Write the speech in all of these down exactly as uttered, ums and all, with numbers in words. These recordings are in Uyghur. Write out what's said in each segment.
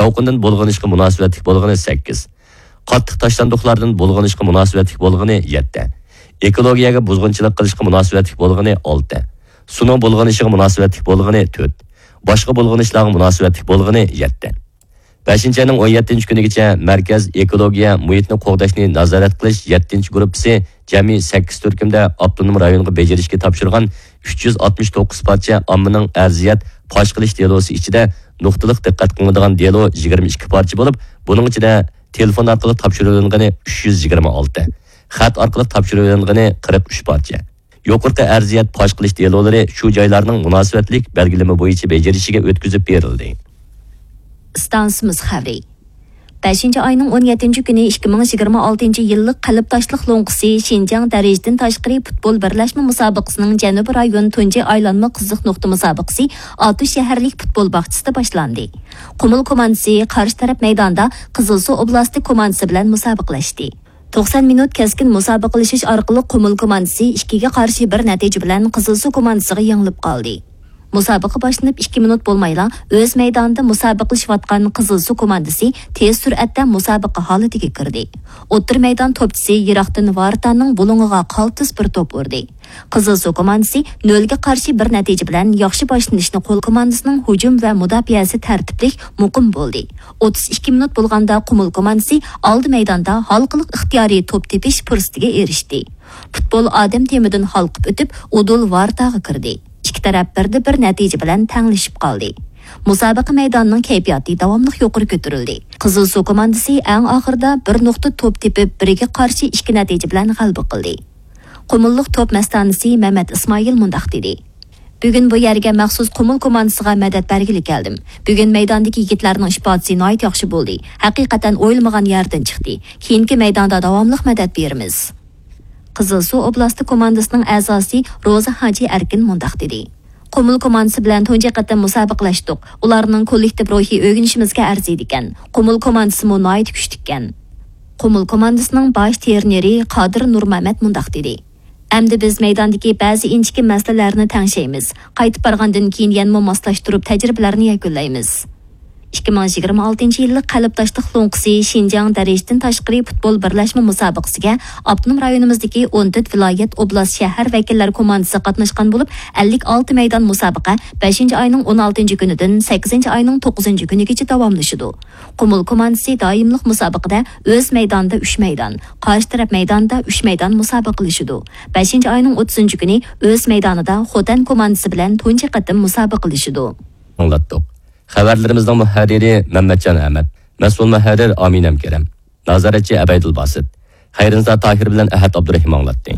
يالقۇندىن بۇلغىنىشقا مۇناسىۋەتلىك بولغىنى سەككىز، قاتتىق تاشلاندۇقلاردىن بۇلغىنىشقا مۇناسىۋەتلىك بولغىنى يەتتە، ئېكولوگىيەگە بۇزغۇنچىلىق قىلىشقا مۇناسىۋەتلىك بولغىنى ئالتە، سۇنىڭ بۇلغىنىشىغا مۇناسىۋەتلىك بولغىنى تۆت، باشقا بۇلغىنىشلارغا مۇناسىۋەتلىك بولغىنى يەتتە. بەشىنچى ئاينىڭ ئون يەتتىنچى كۈنىگىچە مەركەز ئېكولوگىيە مۇھىتنى قوغداشنى نازارەت قىلىش يەتتىنچى گۇرۇپپىسى جەمئىي سەككىز تۈركۈمدە ئاپتونوم رايونغا بېجىرىشكە تاپشۇرغان ئۈچ يۈز ئاتمىش توققۇز پارچە ئاممىنىڭ ئەرزىيەت پاش قىلىش دېلوسى ئىچىدە نۇقتىلىق دىققەت قىلىنىدىغان دېلو يىگىرمە ئىككى پارچە بولۇپ، بۇنىڭ ئىچىدە تېلېفون ئارقىلىق تاپشۇرۇۋېلىنغىنى ئۈچ يۈز يىگىرمە ئالتە، خەت ئارقىلىق تاپشۇرۇۋېلىنغىنى قىرىق ئۈچ پارچە. يۇقىرىقى ئەرزىيەت پاش قىلىش دېلولىرى شۇ جايلارنىڭ مۇناسىۋەتلىك بەلگىلىمە بويىچە بېجىرىشىگە ئۆتكۈزۈپ بېرىلدى. ئىستانسىمىز خەۋىرى. بەشىنچى ئاينىڭ ئون يەتتىنچى كۈنى ئىككى مىڭ يىگىرمە ئالتىنچى يىللىق قەلب تاشلىق لوڭقىسى شىنجاڭ دەرىجىدىن تاشقىرى پۇتبول بىرلەشمە مۇسابىقىسىنىڭ جەنۇبىي رايون تۇنجى ئايلانما قىزىق نۇقتا مۇسابىقىسى ئاتۇش شەھەرلىك پۇتبول باغچىسىدا باشلاندى. قۇمۇل كوماندىسى قارشى تەرەپ مەيداندا قىزىلسۇ ئوبلاستى كوماندىسى بىلەن مۇسابىقىلەشتى. توقسان مىنۇت كەسكىن مۇسابىقىلىشىش ئارقىلىق قۇمۇل كوماندىسى ئىككىگە قارشى بىر نەتىجە بىلەن قىزىلسۇ كوماندىسىغا يېڭىلىپ قالدى. مۇسابىقە باشلىنىپ ئىككى مىنۇت بولمايلا ئۆز مەيدانىدا مۇسابىقىلىشىۋاتقان قىزىلسۇ كوماندىسى تېز سۈرئەتتە مۇسابىقە ھالىتىگە كىردى. ئوتتۇرا مەيدان توپچىسى يىراقتىن ۋارتانىڭ بۇلۇڭىغا قالتىس بىر توپ ئۇردى. قىزىلسۇ كوماندىسى نۆلگە قارشى بىر نەتىجە بىلەن ياخشى باشلىنىشنى قول كوماندىسىنىڭ ھۇجۇم ۋە مۇداپىئەسى تەرتىپلىك، مۇقىم بولدى. ئوتتۇز ئىككى مىنۇت بولغاندا قۇمۇل كوماندىسى ئالدى مەيداندا ھالقىلىق ئىختىيارىي توپ تېپىش پۇرسىتىگە ئېرىشتى. پۇتبول ئادەم تېمىدىن ھالقىپ ئۆتۈپ، ئۇدۇل ۋارتاغا كىردى. ئىككى تەرەپ بىردە بىر نەتىجە بىلەن تەڭلىشىپ قالدى. مۇسابىقە مەيدانىنىڭ كەيپىياتى داۋاملىق يۇقىرى كۆتۈرۈلدى. قىزىلسۇ كوماندىسى ئەڭ ئاخىرىدا بىر نۇقتا توپ تېپىپ، بىرىگە قارشى ئىككى نەتىجە بىلەن غەلىبە قىلدى. قۇمۇللۇق توپ مەستانىسى مەمەت ئىسمائىل مۇنداق دېدى: بۈگۈن بۇ يەرگە مەخسۇس قۇمۇل كوماندىسىغا مەدەت بەرگىلى كەلدىم. بۈگۈن مەيداندىكى يىگىتلەرنىڭ ئىپادىسى ناھايىتى ياخشى بولدى. ھەقىقەتەن ئويلىمىغان يەردىن چىقتى. كېيىنكى مەيداندا داۋاملىق مەدەت بېرىمىز. قىزىلسۇ ئوبلاستى كوماندىسىنىڭ ئەزاسى روزا ھاجى ئەركىن مۇنداق دېدى: قۇمۇل كوماندىسى بىلەن تۇنجى قېتىم مۇسابىقىلەشتۇق. ئۇلارنىڭ كوللېكتىپ روھى ئۆگىنىشىمىزگە ئەرزىيدىكەن. قۇمۇل كوماندىسىمۇ ناھايىتى كۈچلۈككەن. قۇمۇل كوماندىسىنىڭ باش ترېنېرى قادىر نۇرمەمەت مۇنداق دېدى: ئەمدى بىز مەيداندىكى بەزى ئىنچىكە مەسىلىلەرنى تەڭشەيمىز. قايتىپ بارغاندىن كېيىن يەنىمۇ ماسلاشتۇرۇپ تەجرىبىلەرنى يەكۈنلەيمىز. ئىككى مىڭ يىگىرمە ئالتىنچى يىللىق قەلب تاشلىق لوڭقىسى شىنجاڭ دەرىجىدىن تاشقىرى پۇتبول بىرلەشمە مۇسابىقىسىگە ئاپتونوم رايونىمىزدىكى ئون تۆت ۋىلايەت، ئوبلاست، شەھەر ۋەكىللەر كوماندىسى قاتناشقان بولۇپ، ئەللىك ئالتە مەيدان مۇسابىقە بەشىنچى ئاينىڭ ئون ئالتىنچى كۈنىدىن سەككىزىنچى ئاينىڭ توققۇزىنچى كۈنىگىچە داۋاملىشىدۇ. قۇمۇل كوماندىسى دائىملىق مۇسابىقىدە ئۆز مەيدانىدا ئۈچ مەيدان، قارشى تەرەپ مەيدانىدا ئۈچ مەيدان مۇسابىقىلىشىدۇ. بەشىنچى ئاينىڭ ئوتتۇزىنچى كۈنى ئۆز مەيدانىدا خوتەن كوماندىسى بىلەن تۇنجى قېتىم مۇسابىقىلىشىدۇ. ئاڭلاتتۇق. خەۋەرلىرىمىزنىڭ مۇھەررىرى مەمەتجان ئەمەت، مەسئۇل مۇھەررىر ئامىنەم كېرەم، نازارەتچى ئەبەيدۇل باسىت. خەيرىنىسا تاھىر بىلەن ئەھەت ئابدۇرېھىم ئاڭلاتتى.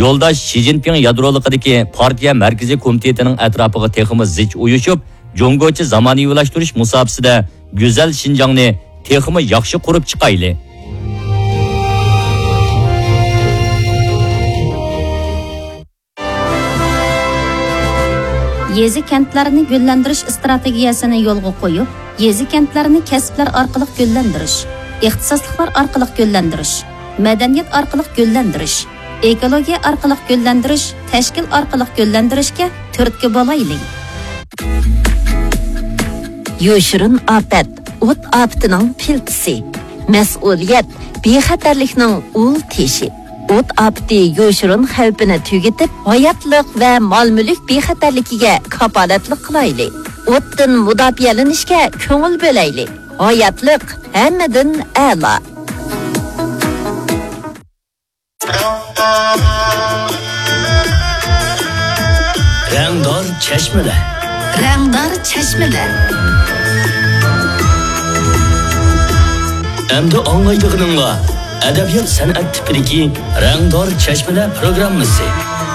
يولداش شى جىنپىڭ يادرولۇقىدىكى پارتىيە مەركىزىي كومىتېتىنىڭ ئەتراپىغا تېخىمۇ زىچ ئۇيۇشۇپ، جۇڭگوچە زامانىۋىلاشتۇرۇش مۇساپىسىدە گۈزەل شىنجاڭنى تېخىمۇ ياخشى قۇرۇپ چىقايلى. يېزا-كەنتلەرنى گۈللەندۈرۈش ئىستراتېگىيەسىنى يولغا قويۇپ، يېزا-كەنتلەرنى كەسىپلەر ئارقىلىق گۈللەندۈرۈش، ئىختىساسلىقلار ئارقىلىق گۈللەندۈرۈش، مەدەنىيەت ئارقىلىق گۈللەندۈرۈش، ئېكولوگىيە ئارقىلىق گۈللەندۈرۈش، تەشكىل ئارقىلىق گۈللەندۈرۈشكە تۈرتكە بولايلى. يوشۇرۇن ئاپەت، ئوت ئاپىتىنىڭ پىلتىسى. مەسئۇلىيەت، بىخەتەرلىكنىڭ ئۇل تېشى. ئوت ئاپىتى يوشۇرۇن خەۋپىنى تۈگىتىپ، ھاياتلىق ۋە مال-مۈلۈك بىخەتەرلىكىگە كاپالەتلىك قىلايلى. ئوتتىن مۇداپىئەلىنىشكە كۆڭۈل بۆلەيلى. ھاياتلىق ھەممىدىن ئەلا. رەڭدار چەشمىلەر. رەڭدار چەشمىلەر. ئەمدى ئاڭلايدىغىنىڭلار ئەدەبىيات سەنئەت تىپىدىكى رەڭدار چەشمىلەر پروگراممىسى.